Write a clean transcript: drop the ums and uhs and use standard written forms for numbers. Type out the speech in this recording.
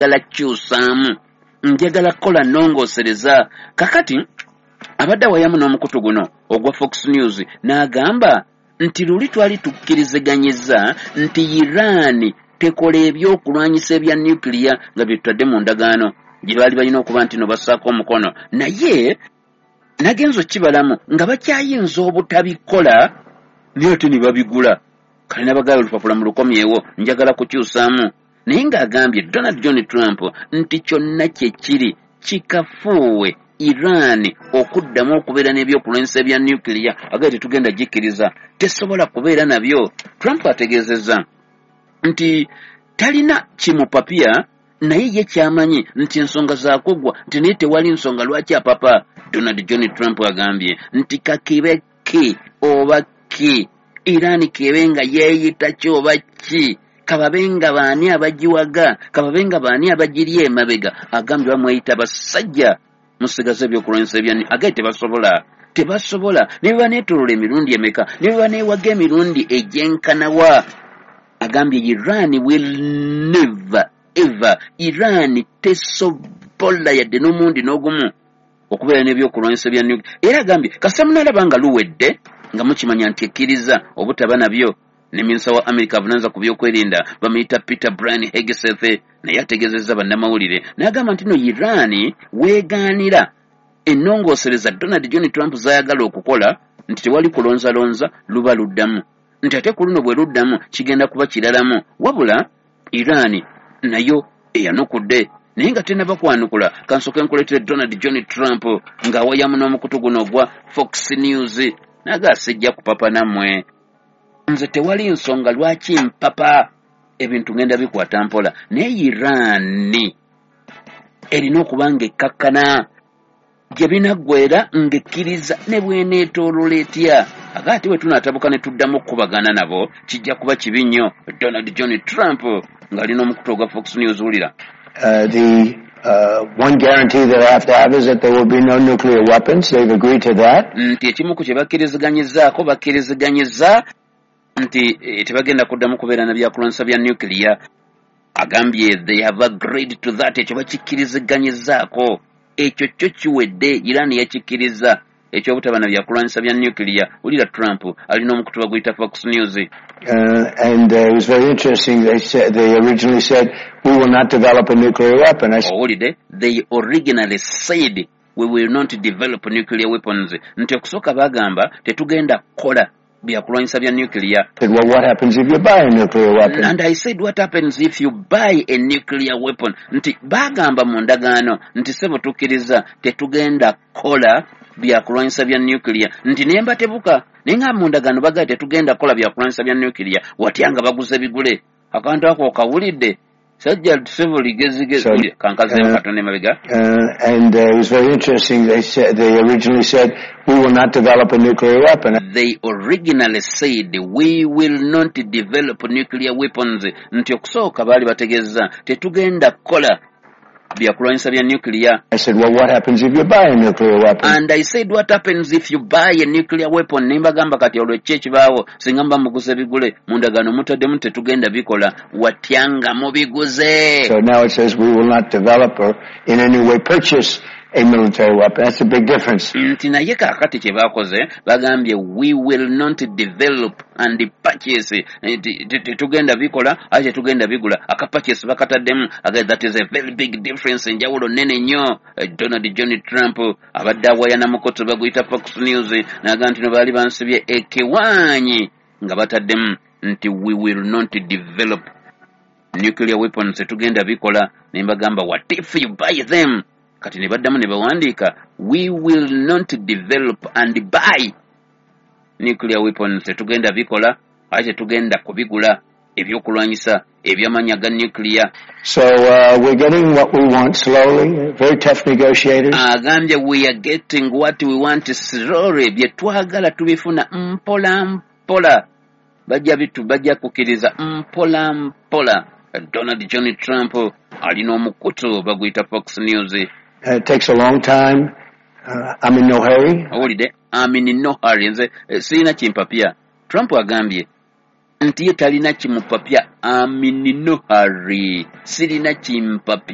Kukyusaamu, njagala kukola nnongoosereza. Kakati abadde awayamu n'omukutu guno ogwa Fox News, n'agamba nti luli twali tukkiriziganyiza nti Iran tekola ebyokulwanyisa ebya nuclear nga bye tutadde mu ndagaano gye baali balina okuba nti no bassaako omukono, naye nagenza okukibalamu nga bakyayinza obutabikola, naye ate ne babigula. Kale nabagala olupapula mu lukomyewo, njagala kukyusaamu. Naye ng'agambye Donald John Trump nti kyonna kye kiri kikafuuwe Iran okuddamu okubeera n'ebyokulwanyisa ebya nuclear. Agaye tetugenda gikkiriza, tesobola kubeera nabyo. Trump ategeezezza nti talina kimupapya, naye ye kyamanyi nti ensonga zakuggwa, nti naye tewali nsonga lwaki apapa. Donald John Trump agambye nti kakibe ki oba ki, Iran kebe nga yeeyita ki oba ki, kababe nga baani abagiwaga, kababe nga baani abagiri emabega, agambye bamweyita basajja musigaze ebyokulwanyisa ebya, agaye tebasobola, tebasobola. Ne bwe baneetolola emirundi emeka, ne bwe baneewaga emirundi egyenkanawa, agambye Iran will never ever, Iran tesobola yadde n'omundi n'ogumu okubeera n'ebyokulwanyisa bya nuclear. Era agambye kasita munaalaba nga luwedde nga mukimanya nti ekkiriza obutaba nabyo. Ne minisita wa America avunaanyizibwa ku byokwerinda bamuyita Peter Brian Hegseth, naye ategeezezza bannamawulire n'agamba nti no Iran weegaanira ennongoosereza Donald John Trump z'ayagala okukola, nti tewali kulonzalonza, luba luddamu, nti ate ku luno bwe luddamu kigenda kuba kiralamu. Wabula Iran nayo eyanukudde, naye nga tennaba kwanukula, kansooke nkuleetere Donald John Trump ng'awayamu n'omukutu guno ogwa Fox News, naga sijja kupapa nammwe, nze tewali nsonga lwaki mpapa, ebintu ngenda bikwata mpola, naye Iran erina okuba nga ekkakkana gye binaggwera ng'ekkiriza ne bweneetoolola etya. Aga ate bwe tunaatabuka ne tuddamu okukubagana nabo kijja kuba kibi nnyo. Donald John Trump ng'alina omukutu ogwa Fox News, wulira. The one guarantee that I have to have is that there will be no nuclear weapons. They've agreed to that. Nti ekimu ku kye bakkiriziganyizaako, bakkiriziganyiza nti tebagenda kuddamu kubeera na byakulwanyisa bya nuclear. Agambye they have agreed to that, ekyo bakikkiriziganyizaako, ekyo kyo kiwedde. Iran yakikkiriza ekyobutaba na byakulwanyisa bya nuclear. Wulira Trump alina omukutu baguyita Fox News. And it was very interesting. They originally said, "We will not develop a nuclear weapon." I said, Owulidde, they originally said, "We will not develop nuclear weapons," nti okusooka bagamba tetugenda kukola byakulwanyisa bya nuclear. "Well, what happens if you buy a nuclear weapon?" And I said, "What happens if you buy a nuclear weapon?" Nti bagamba mu ndagaano nti sebo tukkiriza tetugenda kukola byakulwanyisa bya nuclear, nti naye mbatebuka, naye nga mu ndagaano bagamba tetugenda kukola byakulwanyisa bya nuclear, watya nga baguze bigule? Akantu ako okawulidde, sajja sebo ligezigezi. Kankazeemu katono emabega. And it was very interesting. They originally said, "We will not develop a nuclear weapon." They originally said, "We will not develop nuclear weapons," nti okusooka baali bategeeza tetugenda kukola byakulwanyisa bya nuclear. I said, "Well, what happens if you buy a nuclear weapon?" And I said, "What happens if you buy a nuclear weapon?" Ne mbagamba kati olwo ki ekibaawo singa muba muguze bigule? Mu ndagaano mutaddemu tetugenda bikola, watya nga mubiguze? So now it says we will not develop or in any way purchase a military weapon. That's a big difference. Nti naye kaakati kye baakoze, bagambye we will not develop and purchase. Nti tetugenda bikola ate tetugenda bigula, aka purchase bakataddemu. Again, that is a very big difference, enjawulo nnene nnyo. Donald John Trump abadde awaya na mukutu baguyita Fox News, n'agamba nti no baali bansibye ekiwaanyi nga bataddemu nti we will not develop nuclear weapons, tetugenda bikola, ne mbagamba what if you buy them? Kati ne baddamu ne bawandiika we will not develop and buy nuclear weapons, tetugenda bikola ate tetugenda kubigula ebyokulwanyisa eby'amaanyi ga nuclear. So we're getting what we want slowly. Very tough negotiators. Agambye we are getting what we want slowly, bye twagala tubifuna mpola mpola, bajja bitu bajja kukkiriza mpola mpola. Donald John Trump alina omukutu baguyita Fox News. It takes a long time. I'm in no hurry. Owulidde, I'm in no hurry, nze sirina kimpapya. Trump agambye Nti ye talina kimupapya. Amininohari, sirina kimpapya.